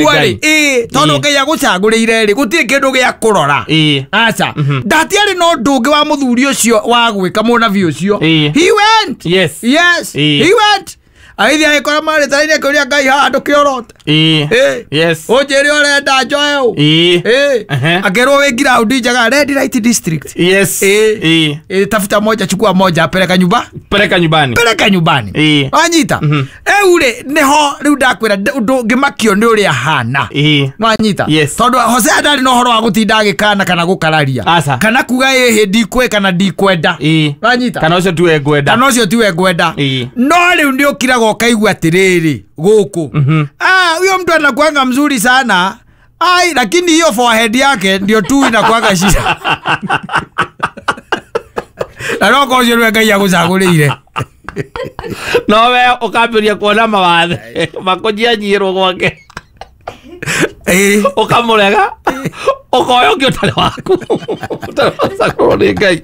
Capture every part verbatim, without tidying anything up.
Ngai. Ĩ, tondũ Ngai agũcagũrĩire rĩ, gũtirĩ kĩndũ gĩa kũrora. Ĩ. Aca, ndatiarĩ na ũndũ ũngĩ wa mũthuri ũcio wa gwĩka, mũnabii ũcio. Ĩ. He went. Yes. Yes. Ĩ. He went, agĩthiĩ agĩkora marĩ tara-inĩ, akĩũria Ngai, haha ndũkĩorote? Ĩ. Ĩ. Yes. Ũnjĩre ũrenda njoe ũ. Ĩ. Ĩ. Ehe. Akĩrwo wĩ ground njega, Red Light District. Yes. Ĩ. Ĩ. Ĩ, tafuta moja, chukua moja, peleka nyumba. Peleka nyumbani. Peleka nyumbani. Ĩ. Wanyita? Rĩu rĩ, nĩho rĩu ndakwĩra ũndũ ngĩmakio nĩ ũrĩa hana. Ĩ. Nwanyita? Yes. Tondũ Hosea ndarĩ na ũhoro wa gũtinda agĩkana kana gũkararia Aca. kana kuga ĩhĩ ndikwĩ kana ndikwenda. Ĩ. Nwanyita? Kana ũcio tiwe ngwenda. Kana ũcio tiwe ngwenda. Ĩ. No rĩu nĩ ũkiraga ũkaigua atĩrĩrĩ, gũkũ, ah, huyo mtu anakuanga mzuri sana ai, lakini hiyo forehead yake ndio tu inakuanga shida, na no korwo ũcio nĩwe Ngai agũcagũrĩire. No we ũkambĩrĩria kuona mawathe makũnyianyirwo gwake. Ĩ. Ũkamũrega, ũkoya ũngĩ ũtarĩ waku, ũtarĩ wacagũrwo nĩ Ngai,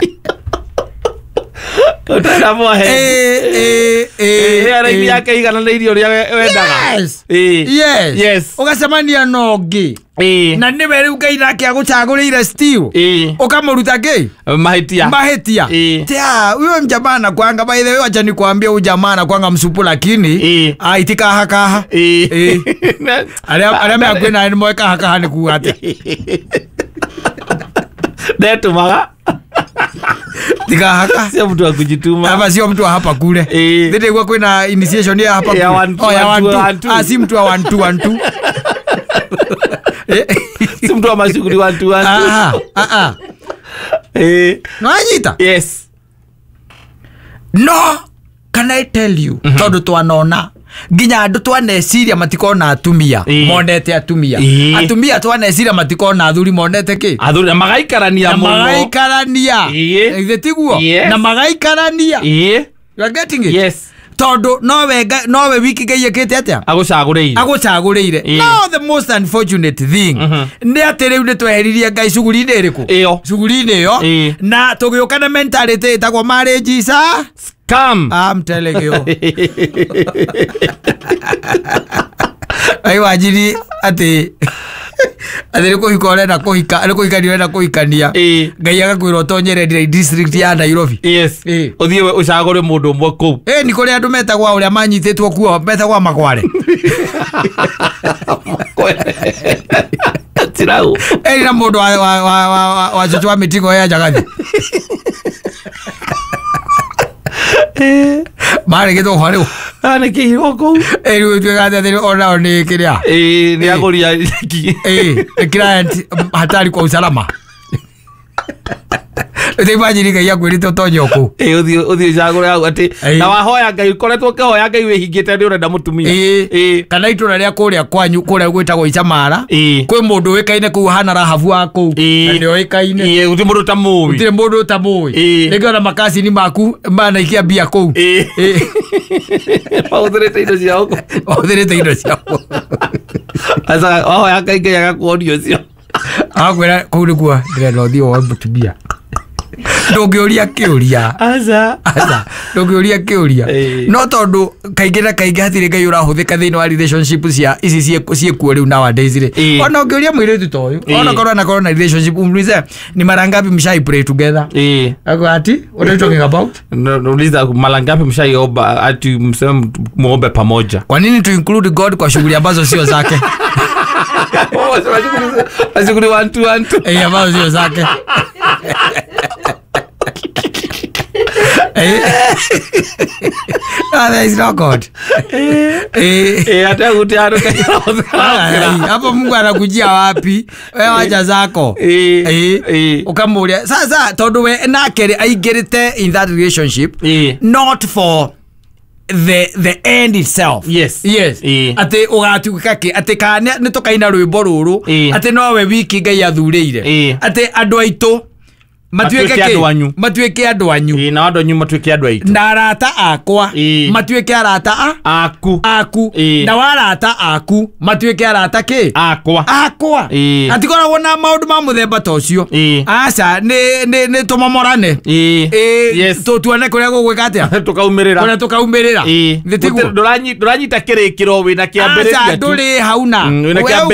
ũtarĩ na mwahe. Ĩ, ĩ, ĩ, Ĩ, ĩ. yake igananĩirie ũrĩa we- wendaga. Yes. Ĩ. Yes. Yes. Ũgacemania na ũngĩ Ĩ. na nĩwe rĩu Ngai nake agũcagũrĩire still, Ĩ. ũkamũruta kĩ? Mahĩtia. Mahĩtia. Ĩ. Tia, huyo mjamaa anakuanga, by the way, wacha nikwambie, huyu jamaa anakuanga msupu, lakini Ĩ. ah, itikaha kaha. Ĩ. Ĩ. Arĩa arĩa me hakuhĩ nawe nĩ moĩ kaha kaha nĩ kuga atĩa. Ndetũmaga. Tikahaka. Sio mtu wa kujituma. Hapa sio mtu wa hapa kule. Ĩ. Thĩndĩ guo kwĩna initiation ya hapa Ya kule. one, two, Oh, ya one, one, two, two. one, two. Ah, si mtu wa one, two, one, two. Eh. Si mtu wa mashughuli one two one two. Ah, ah, ah. Ĩ. Nwanyita? Yes. No, can I tell you, tondũ twanona nginya andũ twaneciria matikona atumia Ĩ. monete atumia, Ĩ. atumia twaneciria matikona athuri monete kĩ? Athuri na magaikarania Na mũno. magaikarania. Ĩ. Githĩ tiguo? Yes. Na magaikarania. Ĩ. You are getting it? Yes. Tondũ nowe Ngai- nowe wiki Ngai ĩkĩte atĩa? Agũcagũrĩire. Agũcagũrĩire. Ĩ. No the most unfortunate thing nĩ atĩ rĩu nĩ tweheririe Ngai cuguri-inĩ ĩrĩkũ? Ĩyo. Cuguri-inĩ ĩyo. Ĩ. Na tũgĩũka na mentality ĩtagwo marriage is a Scam. I'm telling you. Ai, wanjiri atĩ atĩ nĩ kũhika ũrenda kũhika, nĩ kũhikania ũrenda kũhikania, Ĩ. Ngai agakwĩra ũtonyere Red District ya Nairobi. Yes. Ĩ. Ũthiĩ we ũcagũre mũndũ ũmwe kũu. Ĩ, nĩ kũrĩ andũ metagwo ũrĩa manyitĩtwo kuo metagwo makware. Tirau. Ĩ, na mũndũ wa wa wa wa wa- wa cũcũ wa mĩtigo ya njagathi marĩ gĩthũkwa rĩu. Nĩ kĩirwo kũu. Ĩ, rĩu ĩtuĩkaga atĩ onao nĩ kĩrĩa. Ĩ, nĩ agũria nyeki. Ĩ, nĩ client hatari kwa usalama. Imagine Ngai akwĩrĩte ũtonye o kũu. Ĩ, ũthiĩ ũthiĩ ũcagũre hau atĩ Ĩ. na wahoya Ngai, ũkoretwo ũkĩhoya Ngai wĩhingĩte nĩ ũrenda mũtumia. Ĩ. Ĩ. Kana itũra rĩa kũrĩa kwanyu kũrĩa gwĩtagwo Icamara, Ĩ. kwĩ mũndũ ũĩkaine kũu hana Rahabu wa kũu Ĩ. na nĩ oĩkaine. Ĩ, gũtirĩ mũndũ ũtamũĩ. Gũtirĩ mũndũ ũtamũĩ. Ĩ. Rĩngĩ ona makacini maku manaikia mbia kũu. Ĩ. Ĩ. Mahũthĩrĩte indo ciao kũu. Mahũthĩrĩte indo ciao. Aca, wahoya Ngai, Ngai agakuonia ũcio. Agakwĩra kũu nĩkuo ndĩrenda ũthiĩ woe mũtumia, ndũngĩũria kĩũria. Aca. Aca, ndũngĩũria kĩũria. Ĩ. No tondũ kaingĩ na kaingĩ hatirĩ Ngai ũrahũthĩka thĩinĩ wa relationship cia ici ciĩ- ciĩkuo rĩu nowadays rĩ, Ĩ. ona ũngĩũria mũirĩtu ta ũyũ, Ĩ. ona korwo anakorwo na relationship, umulize ni mara ngapi mshai pray together. Ĩ. Ako ati, what are you talking about? No, nauliza mara ngapi mshaiomba ati mseme muombe pamoja. Kwa nini tu include God kwa shughuli ambazo sio zake? Mashughuli one two one two. Eh, ambazo sio zake. Eh. Ah, there is no God. Eh. Eh, hata kuti handũ Ai, hapo Mungu anakujia wapi? We wacha zako. Eh, Eh. eh. Ukamuria sasa tondu we nake rĩ aingĩrĩte in that relationship Eh. not for the the end itself. Yes. Yes. Eh. Atĩ ũgatuĩka kĩ, atĩ kana nĩ tũkaina rwĩmbo rũrũ Eh. atĩ nowe wiki Ngai athurĩire, Eh. atĩ andũ aitũ Matuĩke Matuĩke andũ kĩ? anyu. Matuĩke andũ anyu. Ĩĩ, na andũ anyu matuĩke andũ aitũ. Na arata akwa Ĩĩ. matuĩke arata a Aku. aku. Ĩĩ. Na warata aku matuĩke arata kĩ? Akwa. Akwa. Ĩĩ. Hatikoragwo na maũndũ ma mũthemba ta ũcio. Ĩĩ. Aca, nĩ nĩ nĩ tũmomorane. Ĩĩ. Ĩĩ, Yes. tũ- tuone kũrĩa gũgwĩka atĩa, Tũkaumĩrĩra. kũrĩa tũkaumĩrĩra. Ĩĩ. Nĩ tiguo? Ndũranyi- ndũranyita kĩrĩkĩro wĩna Aca, kĩambĩrĩria tu. ndũrĩ hauna. Mm, wĩna We kĩambĩrĩria.